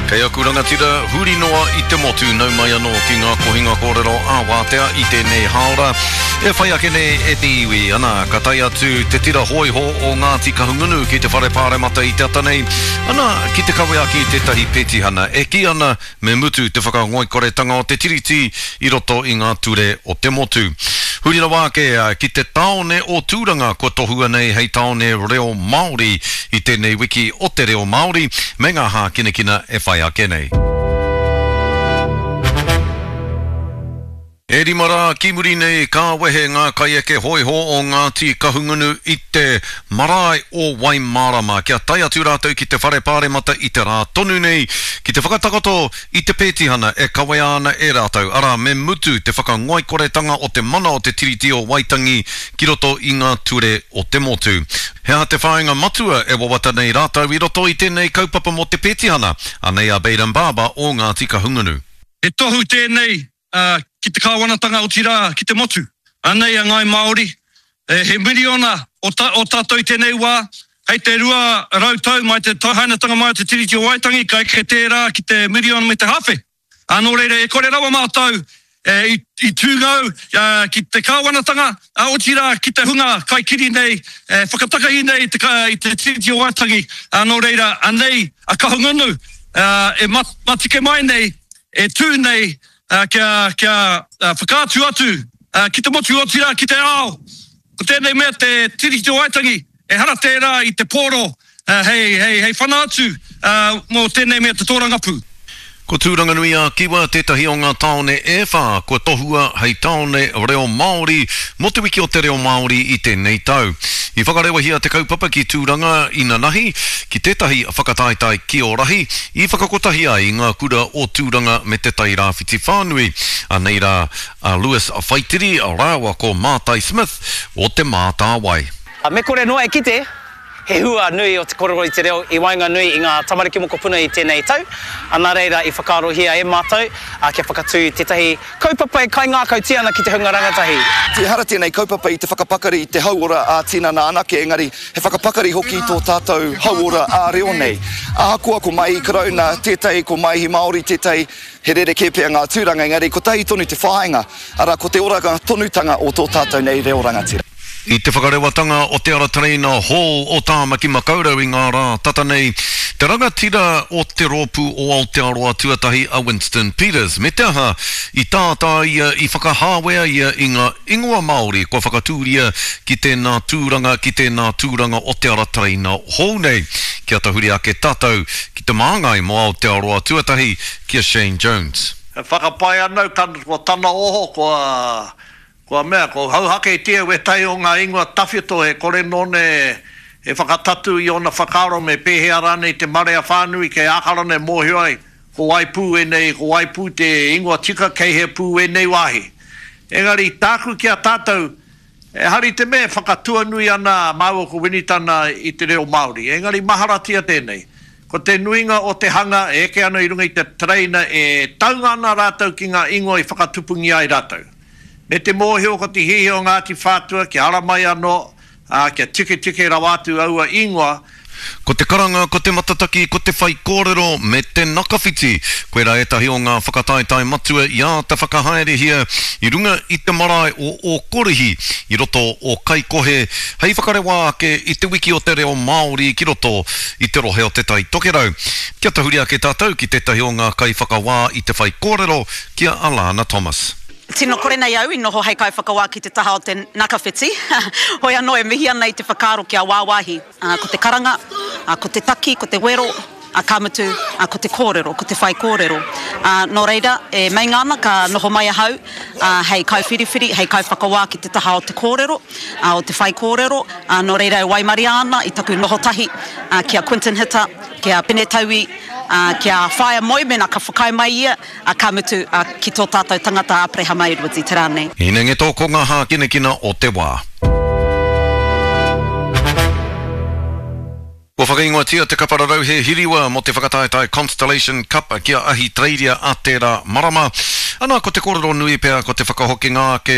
Kei aku rangatira huri noa i te motu nau mai anō ki ngā kohinga kōrero ā-wātea i tēnei hāora e whai ake nei e te iwi. Ana, ka tae atu te tira hōiho o Ngāti Kahungunu ki te whare pāremata i te ata nei, ana, ki te kawe ake i tētahi petihana e kī ana Me mutu te whakangoikoretanga o te Tiriti i roto i ngā ture o te motu. Huri rawa ake ki te tāone o Tūranga kua tohua nei hei tāone reo Māori i tēnei wiki o te reo Māori me ngā hākinakina e whai ake nei. E rima rā ki muri nei ka wehe ngā kaieke hōiho o Ngāti Kahungunu i te marae o Waimārama kia tae atu rātou ki te Whare Pāremata i te rā tonu nei ki te whakatakoto i te pētihana e kawea ana e rātou, arā, me mutu te whakangoikoretanga o te mana o te Tiriti o Waitangi ki roto i ngā ture o te motu. He aha te whāinga matua e wawata nei rātou i roto i tēnei kaupapa mō te pētihana? Anei a Bayden Barber o Ngāti Kahungunu. He tohu tēnei ki te kāwanatanga otirā ki te motu. Anei a Ngāi Māori, he miriona o tātou i tēnei wā, hei te 200 tau mai te hainatanga mai o te Tiriti o Waitangi ka eke tērā ki te miriona me te hāwhe. Ā, nō reira e kore rawa mātou i tūngou ki te kāwanatanga, otirā ki te hunga kaikiri nei, e whakatakahi nei i te Tiriti o Waitangi. Ā, nō reira anei a Kahungunu e matike mai nei e tū nei kia, kia whakaatu atu ki te motu otirā ki te ao, ko tēnei mea te Tiriti o Waitangi, ehara tērā i te pōro hei, hei, hei whana atu mō tēnei mea te tōrangapū. Ko Tūranganui-ā-Kiwa tētahi o ngā tāone e whā kua tohua hei tāone reo Māori mō Te Wiki o te Reo Māori i tēnei tau. I whakarewahia te kaupapa ki Tūranga inanahi, ki tētahi whakataetae kiorahi i whakakotahi ai i ngā kura o Tūranga me Te Tai Rāwhiti whānui. Anei rā a Lewis Whaitiri rāua ko Mātai Smith o Te Mātāwai. Me kore noa e kite, he hua nui o te korero i te reo i waenganui i ngā tamariki mokopuna i tēnei tau, nā reira i whakaarohia e mātou kia whakatū tētahi kaupapa e kaingākautia ana ki te hunga rangatahi. Ehara tēnei kaupapa i te whakapakari i te hauora ā-tinana anake, engari he whakapakari hoki i tō tātou hauora ā-reo nei. Ahakoa ko Maihi Karauna tētahi, ko Maihi Māori tētahi, he rerekē pea ngā tūranga, engari kotahi tonu te whāinga, arā, ko te oranga tonutanga o tō tātou nei reo rangatira. I te whakarewatanga o te ara tereina hou o Tāmaki Makaurau i ngā rā tata nei, te rangatira o te rōpū o Aotearoa Tuatahi a Winston Peters, me te aha, i tātā ia, i whakahāwea ia i ngā ingoa Māori kua whakatūria ki tēnā tūranga, ki tēnā tūranga o te ara tereina hou nei. Kia tahuri ake tātou ki te māngai mō Aotearoa Tuatahi, ki a Shane Jones. E whakapae ana au, ko tana oho kua Kua mea, ko hauhaketia wētahi o ngā ingoa tawhito e kore nōna e whakatatū i ōna whakaaro me pēhea rānei te marea whānui kei Ākarana e mōhio ai ko wai pū ēnei, ko wai pū te ingoa tika kei hea pū ēnei wāhi. Engari, tāku ki a tātou, ehara i te mea e whakatuanui ana māua ko Winitana i te reo Māori, engari maharatia tēnei, ko te nuinga o te hanga e eke ana i runga i te tereina e taunga ana rātou ki ngā ingoa i whakatupungia ai rātou. Me te mōhio ko te hiahia o Ngāti Whātua kia ara mai anō, ā, kia tiketike rawa atu aua ingoa. Ko te karanga, ko te matataki, ko te whaikōrero me te nakawhiti, koirā ētahi o ngā whakataetae matua i āta whakahaerehia i runga i te marae o Ōkorihi i roto o Kaikohe hei whakarewa ake i te wiki o te reo Māori ki roto i te rohe o Te Tai Tokerau. Kia tahuri ake tātou ki tētahi o ngā kaiwhakawā i te whaikōrero, ki a Alana Thomas. Tino kore nei au i noho hei kaiwhakawā ki te taha o te nakawhiti, hoi anō e mihi ana i te whakaaro kia wāwāhi, ko te karanga, ko te taki, ko te wero, ka mutu, ko te kōrero, ko te whaikōrero. Nō reira, e meinga ana ka noho mai ahau hei kaiwhiriwhiri, hei kaiwhakawā ki te taha o te kōrero, o te whaikōrero, nō reira e waimaria ana i taku noho tahi ki a Quinton Hita, ki a Pene Taui, ki a Whaea Moe mēnā ka whakaae mai ia, Ā, ka mutu, ā, ki tō tātou tangata a Aperehama Edwards i te rā nei. Hinengeto ko ngā hākinakina o te wā. Kua whakaingoatia te kapa rarauhe hiriwa mō te whakataetae Constellation Cup ki a Ahitereiria a tērā marama. Ana, ko te kōrero nui pea ko te whakahokinga ake.